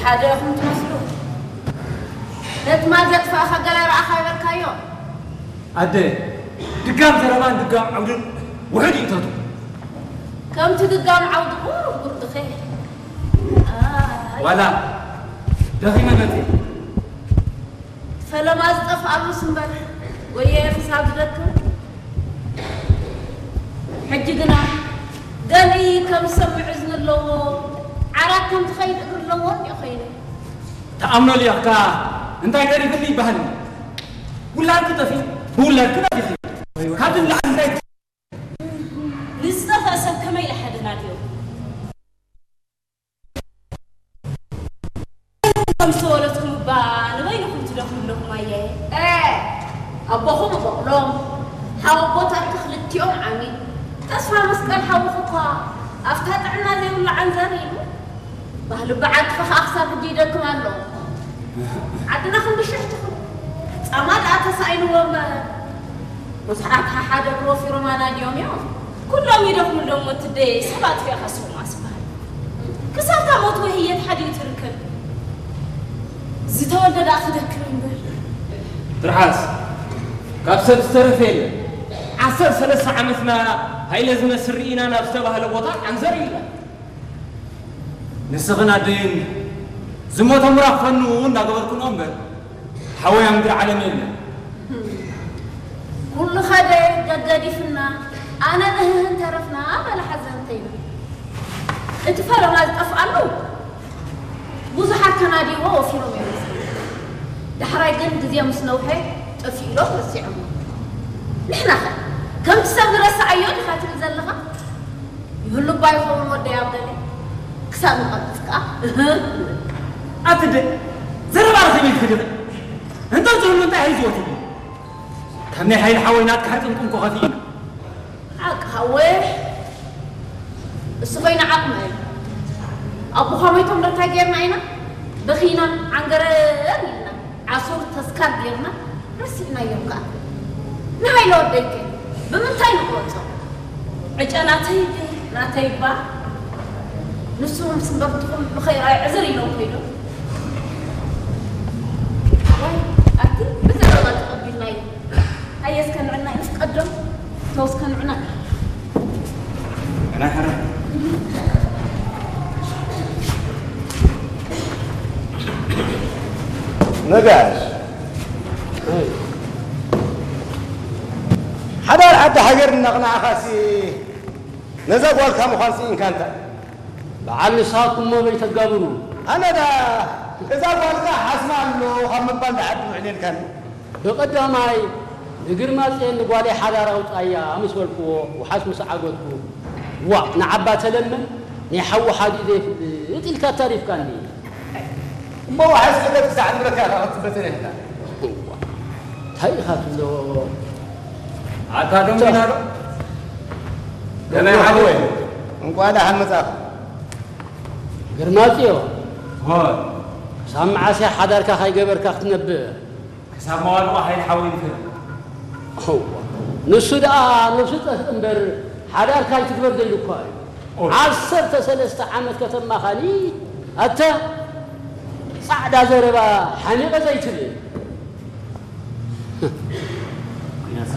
ሓደ ኢኹም ትመስሉ። ነቲ ማል ዘጥፋእኻ ገለ ረኣኻ ይበልካዮ። ኣደ፣ ድጋም ዘረባን ድጋም ዓውድን ውሑድ ይእተቱ። ከምቲ ድጋም ዓውዲ ቁሩብ ጉርድኸ። ኣይ። ዋላ ደኺመ መጺእ። ፈለማ ዝጠፍኣሉስ እምበር ወየ ክሳብ ዝደክም። ሕጂ ግና ገሊ ከም ዝሰምዕ እዝኒ ኣለዎ፣ ዓራት ከም ዝኸይድ እግሪ ኣለዎ እንዲዮ ኮይኑ። ተኣምኖ ሊኣኽካ እንታይ ተሪፍኒ ይበሃል? ውላድኪ ጠፊኡ፣ ብውላድኪ ናፊኺ። ካብዚ ንላዕሊ እንታይ ንዝጠፍአ ሰብ ከመይ ኢለ ሓደናድዮ? ከም ዝተወለድኩም እባ ንበይንኹም ትደኽሙ ኣለኹም ኣየ። ኤ፣ ኣቦኹም በቕሎም፣ ሓወቦታትኪ ክልቲኦም ዓሚ። ተስፋ መስቀል ሓውኺ እኳ ኣብታ ጥዕና ዘይብሉ ዓንዘር ኢሉ። ባህሊ በዓልቲ ኸኣ ክሳብ ሕጂ ይደክም ኣሎ። ዓድና ክንዲ ሽሕ ትኹን። ጻማ ደኣ ተሳኢንዎ እምበር። ብዙሓት ሓሓደ እግሪ ወፊሮም ኣናድዮም እዮም። ኩሎም ይደኽሙ ኣለዎም ወትደይ፣ ሰባት ፊኻ ስኹም ኣስበሃል። ክሳብ እታ ሞት ወይ ህየት ሓዲኡ ትርከብ። ዝተወልደ ደኣ ክደክም እምበር። ትርሓስ፣ ካብ ሰብ ዝተረፈ የለን። ዓሰርተ ሰለስተ ዓመትና ሃይለ ዝመስል ርኢና ናብ ዝተባህለ ቦታ ዓንዘር ኢልና። ንስኽን ኣደይን ዝሞተ ምራኽ ፈኑ እንዳገበርኩኖ እምበር፣ ሓወይ ኣብ ምድሪ ዓለም የለን። ኩሉ ኸደ ገገዲፍና፣ ኣነ ንህህን ተረፍና በለ ሓዘንተይና። እቲ ፈለማ ዝጠፍኣሉ ብዙሓት ተናዲዎ ወፊሮም እዮም። ዳሕራይ ግን ግዜ ምስ ነውሐ ጠፊኡ ኢሎም ረሲዖሞ። ንሕናኸ ከምቲ ሰብ ንረስዓዮ ዲኻ ትብል ዘለኻ? ይህሉ እባ ይኸውን ወደይ ኣብ ገለ ክሳብ ንቐብጽ ከኣ፣ እህ። ኣቲ ደ-፣ ዘረባ ርኺብ ኢልኪ ድኺ? እንተ ዝህሉ እንታይ ሒዝዎ ትብሊ? ካብ ናይ ሓይሊ ሓወይ ናትካ ሕርቅን ቁንቆ ከፊእና። ሓቂ ሓወይ፣ እሱ ኾይኑ ዓቕሚ እዩ። ኣቦኻ ሞይቶም ዶ እንታይ ጌርና ኢና? በኺና ዓንገረር ኢልና። ዓሱር ተስካር ጌርና ረሲዕናዮም ከኣ። ንሃይለ ወደይከ ብምንታይ ንቆጾ? ዕጨ ናተይ ድዩ? ናተይ እባ። ንሱ ምስ በርትኹም ንኸይርኣይ ዕዝር ኢሎም ከይዶም። ዋይ፣ ኣቲ ብዘረባ ተቐቢልናዮ። ኣየ እስከ ንዕና ኢሉስ ቀደም ተው እስከ ንዕና። ናይ ሕረ። ነጋሽ። ሓዳር ዓዲ ሃገር እናቕናዕኻሲ ነዛ ጓልካ ምዃን ስኢንካ እንታ? በዓል ንስኻትኩም እሞ በይ ተጋብሩ። ኣነ ዳ እዛ ጓልካ ሓስማ ኣሎ ካብ ምባል ንዓዲ ውዕል ኢልካኒ። ብቐዳማይ ንግርማጽዮን ንጓለይ ሓዳር ኣውጻያ ምስ በልክዎ፣ ውሓስ ምስ ዓገትኩ፣ ዋእ ንዓባ ተለምን ናይ ሓዉ ሓዲኡ ዘይፍልጥ ኢልካ ኣታሪፍካኒ። እሞ ውሓስ ክእለት ክሳዕ ንብለካ ኢኻ ክትበተን ኢኻ። እዋ፣ እንታይ ኢኻ ትብሎ? ኣታ ደንጉና ዶ? ከመይ ደንጉና ሓወይ? እንቋዕ ደሓን መጻእካ። ግርማጽዮ፣ ሆይ። ክሳብ መዓስ እያ ሓዳርካ ካይገበርካ ክትነብር? ክሳብ መዋድቑ ሓይሊ ሓወይ ንፈሪ። እዋ፣ ንሱ ደኣ ነብሱ ጠፍእ እምበር ሓዳርካ ኣይትግበር ደይሉ እኳ እዩ። ኦይ። ዓሰርተ ሰለስተ ዓመት ከተማኻኒ ኣታ ጻዕዳ ዘረባ ሓሚቐ ዘይትብል።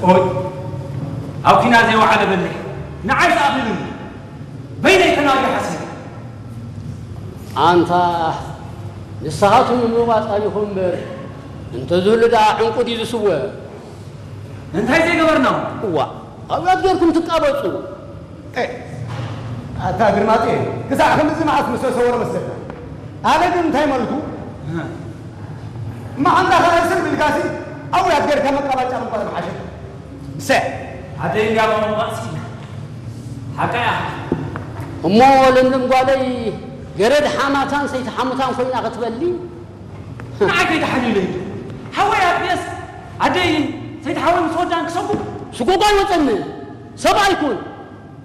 ኦይ፣ ኣብ ኲናት ዘይወዓለ በሊሕ ንዓይ ዝኣኽልን በይነይ ተናግሪ ሓሲበ። ኣንታ ንስኻትኩም ንምባጻ ኢኹም እምበር እንተዝህሉ ደኣ ዕንቁ ድዩ ዝስወ? እንታይ ዘይገበርና? እዋ፣ ኣብያት ጌርኩም ትቃበጹ። ኤ፣ ኣታ ግርማጤ፣ ክሳዕ ክንድዚ መዓስ ምስ ተሰወረ መስለካ? ኣነ ግን እንታይ መልኩ? እህ። መዓንጣኻ እስር ቢልካሲ፣ ኣብያት ጌርካ መቃባጫ ምቋር ምሓሸ። ብሰ። ኣደይ እንዲያ መመባእሲ። ሓቃ እያ። እሞ ለምለም ጓለይ፣ ገረድ ሓማታን ሰይቲ ሓሙታን ኮይና ክትበሊ? ንዓይ ከይተሓልዩለይ። ሓወይ ኣጥቢየስ ኣደይ ሰይቲ ሓወይ ምስ ወዳን ክሰጉ? ስጎጓ ኣይወፀኒ። ሰብኣይ ኩን።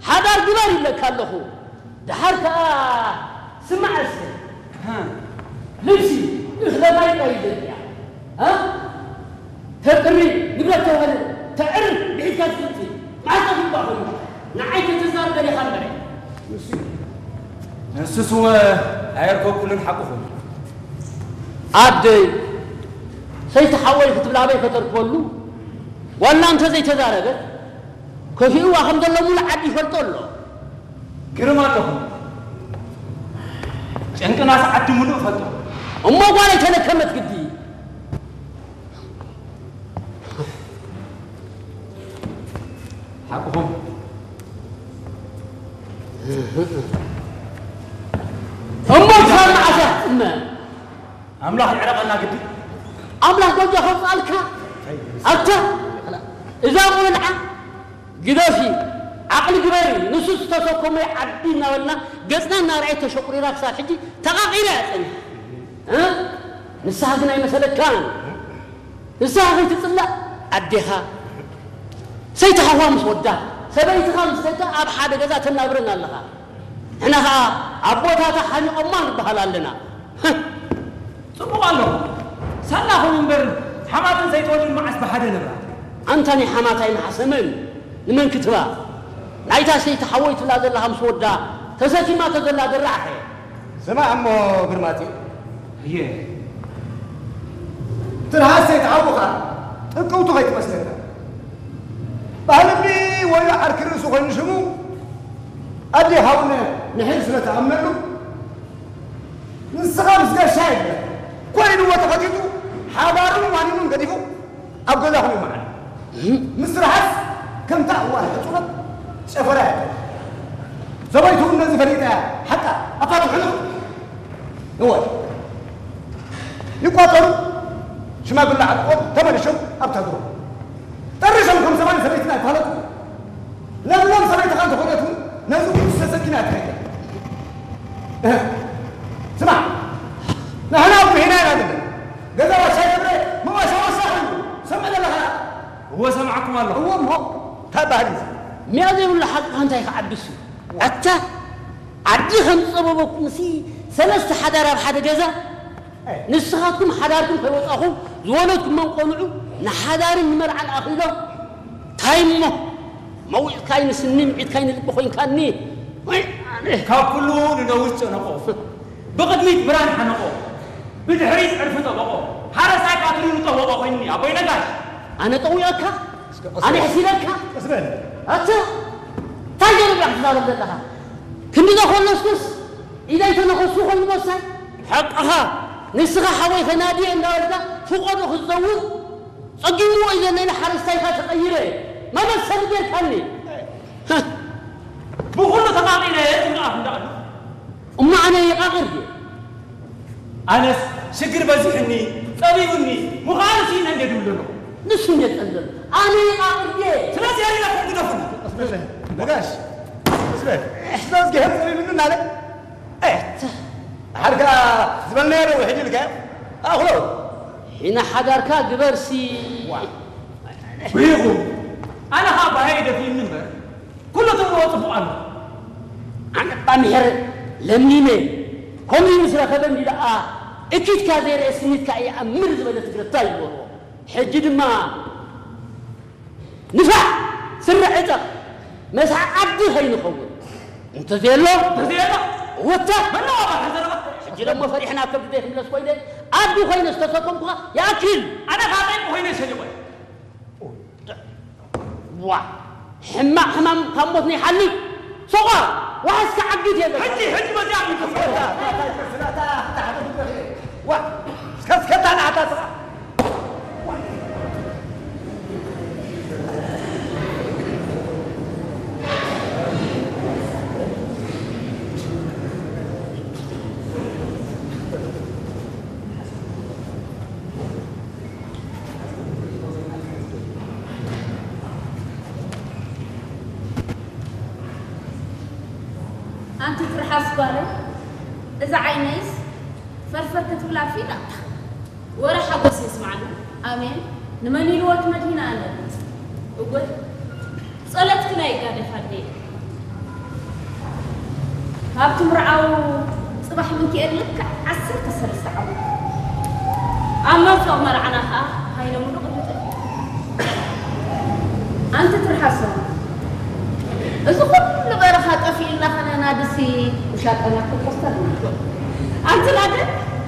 ሓዳር ግበር ይብለካ ኣለኹ። ደሓር ከኣ ስማዕ እስከ። ሃ። ልብሲ እኽለ ማይ ቀይደ እያ። ሃ? ተጥሪ ንብረት ተውህል ተዕር ብሒትካ ትፍልጢ። ማዕቀብ ይባኹም። ንዓይ ከተዛርበ ዲኻ እምበረ። ንሱ ንሱስ እወ ኣየርከብኩሉን ሓቅኹም። ኣደይ፣ ሰይቲ ሓወይ ክትብል ኣበይ ከተርክበሉ? ዋላ እንተ ዘይተዛረበት፣ ከፊእዋ ከም ዘሎ ሙሉእ ዓዲ ይፈልጦ ኣሎ። ግርም ኣለኹም። ጨንቅናስ ዓዲ ሙሉእ እፈልጦ። እሞ ጓለይ ተለከመት ግዲ። ሓቅኹም። እሞ ክሳብ መዓስ እያ ትጥመ? ኣምላኽ ይዕረቐና ግዲ። ኣምላኽ ጎጆ ከውፅኣልካ። ኣታ እዛ ቆልዓ ግደፊ፣ ዓቕሊ ግበሪ። ንሱ ዝተሰከሞ ዓዲ እናበልና ገፅና እናረኣየ ተሸቑሪራ ክሳብ ሕጂ ተቓቒራ እያ ፀኒሓ። እ? ንስኻ ግን ኣይመሰለካን። ንስኻ ከይትፅላእ ኣዴኻ፣ ሰይቲ ሓዋ ምስ ወዳ፣ ሰበይትኻ ምስ ደቃ ኣብ ሓደ ገዛ ተናብረን ኣለኻ። ንሕና ኸዓ ኣቦታታ ሓኒቖማ ንበሃል ኣለና። ጽቡቕ ኣሎ። ሳላኹም እምበር ሓማትን ሰይትወድን መዓስ ብሓደ ነብራ? ኣንታ ናይ ሓማታይ መሓሰምን ንመን ክትባ? ናይታ ሰይቲ ሓወይ ትብላ ዘለኻ ምስ ወዳ ተሰኪማቶ ዘላ ድራዕ ኸ? ስማዕ እሞ ግርማጺ። እየ። ትርሃስ ሰይትሓውኻ ጥቅውቱ ከይትመስለካ። ባህልቢ ወዮ ዓርኪ ርእሱ ኮይኑ ሽሙ ኣዴኻ እውን ንሒር ስለ ትኣምነሉ፣ ንስኻ ምስ ገሻ የለ ኮይንዎ ተኸቲቱ ሓዳሩን ዋኒኑን ገዲፉ ኣብ ገዛኹም ይመዓል። ምስ ትርሃስ ከምታ እዋን ሕጹበት ጨፈራ እያ። ሰበይቱ እውን ነዚ ፈሊጣ እያ። ሓቃ ኣፋልም ሕልኽ። እወ። ይቋጸሩ። ሽማግለ ዓጥቆም ተመሊሾም ኣብታ ድሮ። ጠሪሾም ከም ሰብኣይን ሰበይትን ኣይፋለጡ። ለምለም ሰበይትኻ እንተኾነት እውን ነዚ እውን ተሰኪማ እያ ትኸይድ። እህ። ስማዕ፣ ንሕና ኣብ ጉሂና ኢና ዘለና። ገዛ ዋሻ ይገብረ፣ መዋሻ ዋሻ ኮይኑ። ሰምዕ ዘለኻ? እወ፣ ሰማዕኩም ኣለኹ። እወ እሞ፣ እንታይ ባህሊ እዚ? ሚያ ዘይብሉ ሓቅኻ እንታይ ክዓብስ እዩ? ኣታ፣ ዓዲ ከም ዝጸበበኩምሲ፣ ሰለስተ ሓዳር ኣብ ሓደ ገዛ? ንስኻትኩም ሓዳርኩም ከይወጻኹም ዝወለድኩሞም ቆልዑ ንሓዳርን ንመርዓን ኣኺሎም ታይ እሞ መዊፅካይ ንስኒ ምዒድካይ ንልቢ ኮይንካኒ። ወይ ኣነ። ካብ ኩሉ ንነዊት ጨነቆ፣ ብቕድሚት ብራን ሓነቆ፣ ብድሕሪት ዕርፊ ጠበቆ፣ ሓረስታይ ቃትሉ ንጠበቆ ኮይኑኒ ኣቦይ ነጋሽ። ኣነ ጠዊቐካ? እስከ፣ እስከ። ኣነ ሕሲለካ? ቀስ በል። ኣታ፣ እንታይ ገይሩ ኢኻ ትዛረብ ዘለኻ? ክንዲ ዘኾለስኩስ ኢደይ ተነኸሱ ኮይኑ መሳይ? ሓቅኻ፣ ንስኻ ሓወይ ከናድየ እንዳበልካ ፍቆዶ ክትዘውር ጸጊምዎ እዩ ዘሎ ኢለ ሓረስታይካ ተቐይረ መበል ሰብ ጌርካኒ። ብኹሉ ተቓቒረ ትብልኣፍ እንዳኣሉ። እሞ ኣነ ይቓቕር ድየ? ኣነስ ሽግር በዚሑኒ፣ ጸቢቡኒ፣ ምዃኑ ስኢነ እንዴ ድብል ዘሎ? ንሱ እንዴ ጸልዘሉ? ኣነ ይቓቕር ድየ? ስለዚ የሪለኩም ግደፉኒ። ቀስ በል ነጋሽ፣ ቀስ በል። ስለዚ ገሄር ጸቢቡኒ እናለ፣ ኤህ፣ ሓድካ ዝበልናዮ ዶ ውሕጅ ኢልካዮ? ኣኽሎ። ሒና ሓዳርካ ግበርሲ። ዋ። ውሂኹ። ኣነ ኸኣ ባሃይ ደፊእኒ እምበር፣ ኩሉ ትብልዎ ጽቡቕ ኣሎ። ኣነ እባ ምሕር ለሚነ፣ ከምኡ ምስ ረኸበኒ ደኣ፣ እኪትካ ዘይርኤ ስኒትካ እየ ኣምር ዝበለ ትግረ እንታይ ይበልዎ? ሕጂ ድማ ንፋዕ ስረ ዕጠቕ፣ መስሓቕ ዓዲ ኸይንኸውን። እንተዘየሎ፣ እንተዘየሎ፣ ወታ፣ መነው ኣባኻ ዘረባ? ሕጂ ደሞ ፈሪሕና ኣብ ከብዲ ዘይክምለስ ኮይነ፣ ኣዱ ኮይነ ዝተሰከምኩኻ ይኣክል። ኣነ ኻጠይቁ ኮይነ ሸሊቆ። ዋ፣ ሕማቕ ሕማም ካብ ሞት ነይሓልፍ። ሶቋ፣ ዋሕስ ክዓግት የለን። ሕጂ፣ ሕጂ መዚኣ ይከፍታ። ዋ፣ እስከ፣ እስከ ታናታ ስራ። ኣንቲ ትርሓስ ጓለይ፣ እዛ ዓይነይስ ፈርፈር ክትብል ኣርፊዳ። ወረ ሓጎስ የስምዓና። ኣሜን። ንመን ኢልዎ እቲ መድሂን ኣለ? እወ፣ ጸሎትክን ኣይጋደፍ ኣደይ። ኣብቲ ምርዓው ጽባሕ ምንኪኤል ልክዕ ዓሰርተ ሰለስተ ዓመት። ኣብ መንፈቕ መርዓና ከኣ ሃይለ ሙሉእ ቅድሚ ጠፊኡ። ኣንቲ ትርሓሶ፣ እዚ ኩሉ በረኻ ጠፊእልና ኸነና ድሲ ውሻጠና ክትወስደልና። ኣንቲ ናደ